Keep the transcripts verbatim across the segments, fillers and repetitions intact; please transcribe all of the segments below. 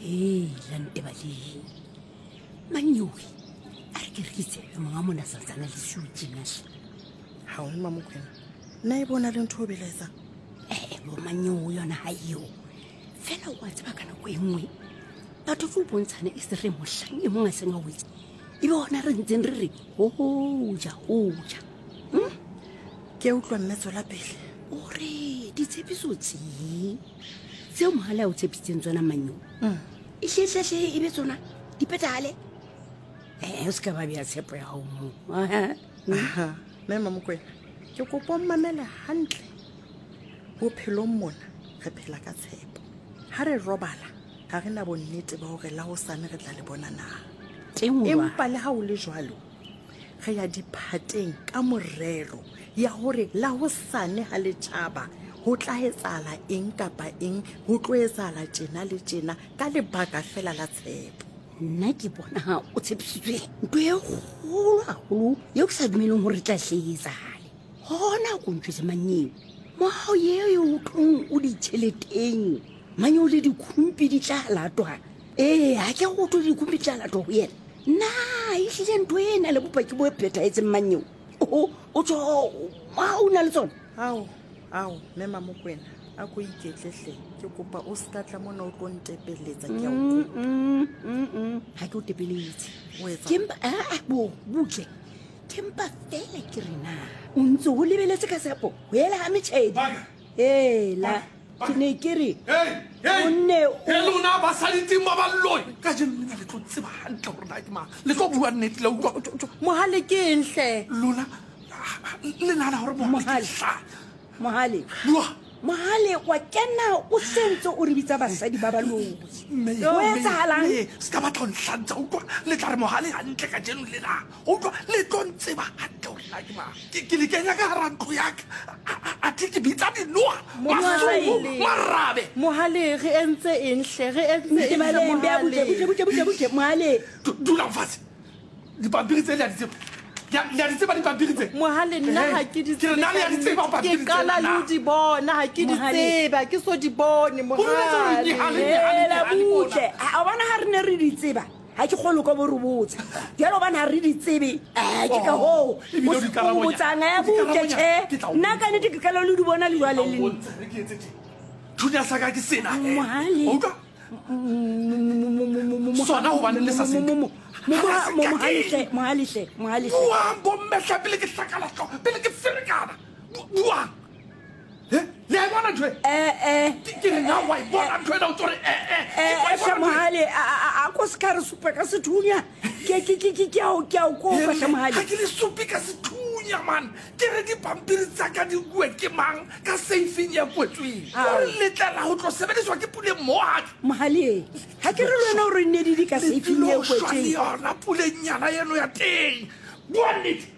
Hela Ntebaleng, Manyoe a re ke re ke tsebe monga mona santsana le siu tjenahle. Ha o Mmamokwena, nna e bona le ntho o belaetsang? Ee bo Manyoe yona ha eo. Fela o a tseba ka nako e nngwe batho tlo bontshana e se re mohlang e mong a seng a wetse, ebe hona re ntseng re re hoja hoja. Hmm? Ke utlwa mme, tswela pele. O re ditshepiso tse tseo Mohale a o tshepisitseng tsona Manyoe, e hlehle e be tsona di phethahale. Eh, o se ka ba bea tshepo ya hao moo. Aha, mme Mmamokwena, ke kopa o mmamele hantle. Bophelong mona re phela ka tshepo. Ha re robala ha re na bonnete ba hore la hosane re tla le bona na. Teng o Empa le ha o le jwalo, re ya diphateng ka morero ya hore la hosane ha le tjhaba ho tla etsahala eng kapa eng, ho tlo etsahala tjena le tjena ka lebaka fela la tshepo. Nna ke bona o tshepisitswe ntho e kgolo haholo eo ke sa dumeleng hore e tla hle e etsahale. Hona ko ntjwetse Manyeo, mohao eo o tlong o ditjheleteng, Manyeo le dikhumpi di tla latwa. Ee, ha ke go thwe dikhumpi di tla latwa ho yena. Na ehlile ntho e na le bopaki bo phethahetseng Manyeo? O o tjho ha o na le tsona? Ao, ao, mme Mmamokwena, a ko iketle hle. Ke kopa o ska tla mona o tlo ntepeletsa, ke a o kopa. Mm, mm, mm. Ha ke o tepeletse. O etsang? Ke mpa, ah, ah, bo, butle. Ke mpa fela ke re na o ntse o lebeletse ka tshepo ho ela ha metjhedi. Baka. Hela, ke ne ke re Hey, hey, o nne o hey, lona basadi teng ba baloi. Kajeno lena le tlo tseba hantle hore na ke mang. Le tlo bua nnete, le utlwa. Mohale ke eng hle? Lona, le nahana hore Mohale ke Mohale. hlanya? Mohale. Bua. Mohale wa kena o sentse o re bitsa basadi ba baloi. Mme, Ho mme, etsahalang? mme, se ka batla ho nhlantsa, utlwa. Le tla re Mohale hantle kajeno lena. Utlwa, le tlo ntseba hantle hore na ke mang. Ke, ke le kenya ka hara ntlo ya ka. A, a, athe ke bitsa dinoha, Mohale. masumu, marabe. Mohale, re entse eng hle? Re entse eng hle, Ntebaleng, bea butle, Mohale? butle, butle, butle, butle, Mohale. Du-, dulang fatshe. Dipampiri tse le a di tseba? Le a, le a di tseba dipampiri tse? Mohale, nna ha ke di Ke re nna le a di tseba tsebe. pampiri Ke qala tse le ho na? di bona, ha ke di Mohale. tsebe, ha ke so di bone, O boletse hore Mohale. Nehale, Nehale, Hela, Nehale mona. butle. Ha, o bona ha re ne re di tseba, ha ke kgolwe ka bo re botsa. Jwale hobane ha re di tsebe, eh, ke ka hoo. Oh, ebile o O di karabonya. botsang, eh, O di butle, karabonya. tjhe. Ke tla o Nna ka nnete ke qala le di bona le jwale Ke tla o le nna. bontsha, re ke etse tje. Thunya sa ka ke sena, eh. Mohale. O utlwa? Sona hobane le sa se nke. Mohale hle, Mohale hle, Mohale hle. Buang bomme hle, pele ke hlakala hlooho, pele ke ferekana. Bu-, buang. Eh, le a e bona ntho e? Eh, eh. Ke, ke re na wa e bona ntho ena, o tlo re, eh, eh, Eh, wa e eh, bona ntho e? Mohale, a, a, a, a ko se ka re supa ka sethunya. Ke, ke, ke, ke, ke a o, ke a o kopa hle, Mohale. Ha ke le supe ka sethunya, man. Ke re dipampiri tsa ka di nkuwe ke mang ka seifeng e kwetsweng. Ao. Hore letlela ho tlo sebediswa ke Puleng Mohadi. Mohale, ha ke re le wena hore nne di di ka Le seifeng e tlilo shwa le kwetsweng. yona Pulenyana eno ya teng. Bua nnete.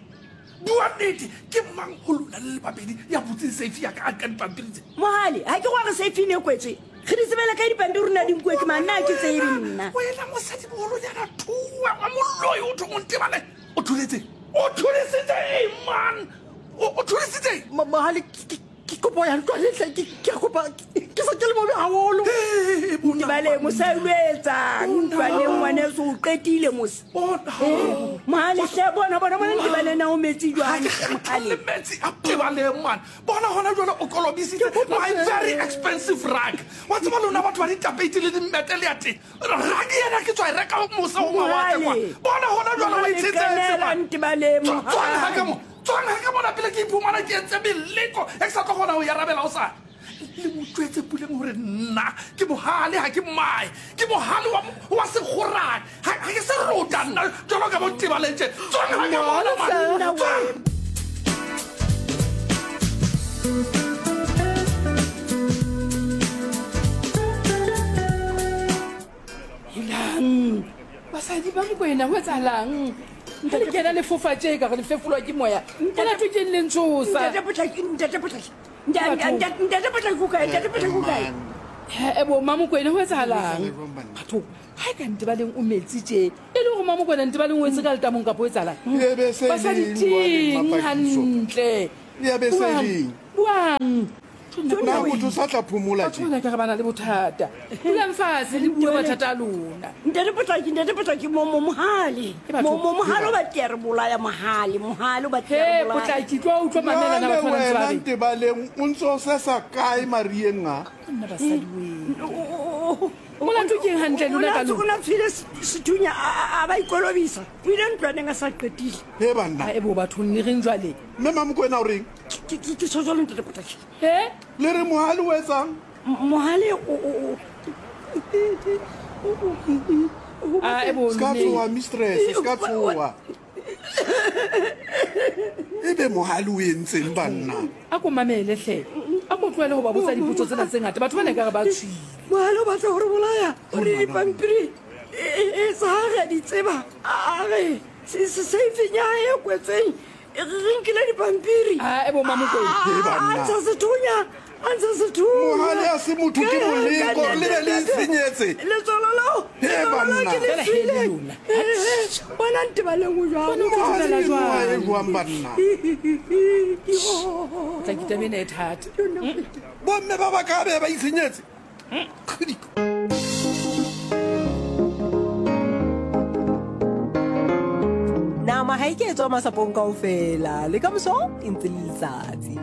Bua nnete. Ke mang ho lona le le babedi ya butseng seifi ya ka a nka dipampiri tse? Mohale, ha ke go re seifeng e kwetswe. Re di tsebela ka dipampiri rona di nkuwe ke mang? Nna ha ke tsebe nna. Wena mosadimoholonyana thuwe wa moloi, o thong o ntebale. O tholetse? O tholesitse eng, man? O, o tholesitse eng? Mo-, Mohale, ke, ke, ke kopo ya ntlwa le hle, ke, ke a kopa, ke, ke se ke le mobe haholo. Hey, bona, Ntebale, mosadi o etsang? Bona. Ntlwaneng ngwaneso, o qetile mose. Bona. Eh, Mohale hle, bona, bona, bona, Ntebale na o metsi jwang, Ha ke hle, kgathale Mohale. metsi a Tebaleng, man. Bona hona jwale o kolobisitse Ke kopa my hle. very expensive rug. Wa tseba lona batho ba ditapeiti le dimmete le ya teng. Rug ena ke tswa e reka mose ho mawatle kwa. Mohale. Bona hona jwale o Mohale, e tshetsetse, kenela man. Ntebaleng, Tswa-, tswang ha ka Mohale. mo. Tswang ha ka mona pele ke iphumana ke entse meleko e ke sa tlo kgona ho e arabela hosane. Le mo jwetse Puleng hore nna ke Mohale, ha ke mmae. Ke Mohale wa mo-, wa sekgorane. Ha, ha ke se rota nna jwalo ka bo Ntebaleng tje. Tswang ha ka mona, man. Nna we. Tswang. Helang, basadi ba Mokwena, ho etsahalang? Ha le kena le fofa tje ka re le fefolwa ke moya. Molato ke eng le ntshosa? Ntate Potlaki, Ntate Potlaki. Ntate, ntate, Ntate Potlaki o kae? Ntate Potlaki o kae? He, e bo, Mmamokwena, ho etsahalang? Batho, ha e ka Ntebaleng o metsi tje. E le hore Mmamokwena Ntebaleng o etse ka letamong kapa ho etsahalang? E be se Basadi leng jwale, teng Mmapakiso. hantle. E be se Buang, leng. buang. Na motho sa tla phomola Batho bana ka re ba na le bothata. Dulang fatshe le bue mathata a lona. Ntate Potlaki, ntate Potlaki, mo mo mohale. E batho- Mo mo mohale o batla re bolaya mohale, mohale o batla He re bolaya. Potlaki tlo utlwa mamela na Jwale batho ba ntse ba wena reng. Ntebaleng o ntse o sesa kae marieng a? Nna basadi we. O- o- Molato ke eng hantle o lona na ka o lona? na tshwile sethunya a a- a ba ikolobisa. O ile ntlwaneng a sa qetile. He banna. A e bo bathong le reng jwale? Mme Mamokwena o reng? Ke ke ke tjho jwalo ntate Potlaki. He? Le re mohale o etsang? M- Mohale o o o A e bo Se ka lone. tshoha mistress, se ka tshoha. Ebe mohale o entseng banna? A ko mamele hle. A ko tlohele ho ba botsa dipotso tsena tse ngata. Batho bana ekare ba tswile. Mohale o batla ho re bolaya. O re dipampiri e e tsa ha re a di tseba. A re se se seifeng ya hae e kwetsweng e re re nkile dipampiri. A e bo Mamokwena. He banna. A ntsha sethunya, a ntsha sethunya. Mohale a se motho ke moleko, le be le itshenyetse. Letswalo leo, He letswalo leo banna. ke le Fela he le tswileng. lona. Eh, eh, Bona Ntebaleng o jwang? Bona o tlo Mohale dumela enoa jwang? e jwang banna? Yo. Potlaki taba ena e thata. Bomme ba ba ka be ba itshenyetse. Kgidi. Nama ha e ke etswa masapong kaofela le ka moso e ntse le letsatsi.